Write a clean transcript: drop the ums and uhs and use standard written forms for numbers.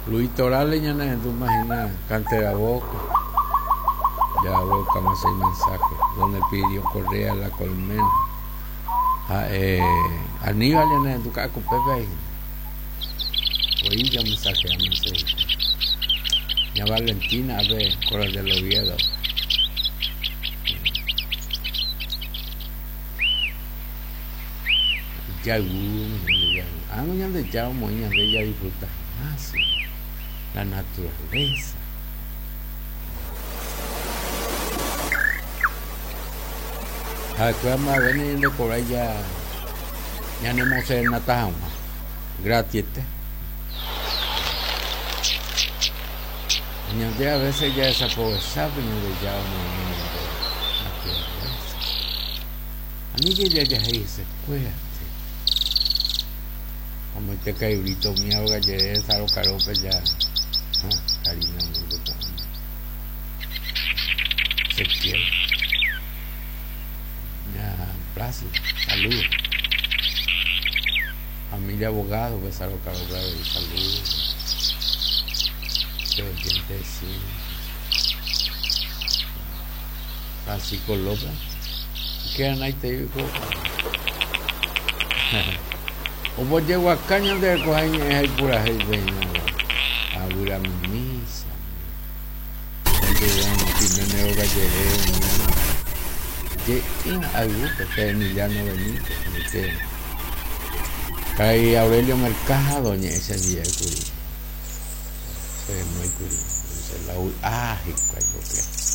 Luis Torales ñanehendúma hína Cantera Boca. Ya buscamos ese mensaje. Don Elpidio Correa La Colmena. Ha'e Aníbal ñanehendu Ka'akupépe hína. Oĩ ya mensaje mensaje. Ña Valentina ape Coral del Oviedo. Jayvu, ág̃a Ñandejára omoĩ ñande jadisfruta hag̃ua la naturaleza. Ha'ekuéra mba'eve nañandekovrái ñanemoserenata hag̃ua gratiete. Ñande a veces jadesaprovecha pe Ñandejára omoĩva ñandéve naturaleza. Aníke jajahéi hesekuéra. Amoite Kaiurito umi óga jere Saro Karópe ja ha Karina mundo po'ãme. Ezequiel. Ña Plácido, saludo. Familia abogado pe Saro Karópe avei, saludo. Che oyente siempre. Francisco López. Ikeranaitei oiko. Ombojeguaka ñande rekoha iñe'ẽ ha ipurahéipe hína Avyra Mimisa. Ojeguarõ Jiménez róga jere umi je'ỹ ayvúpe pe Emiliano Benítez oike. Karai Aurelio Mercado oñe'ẽ chendive kuri. Che renói kuri. Che la vy'a hikuái porque.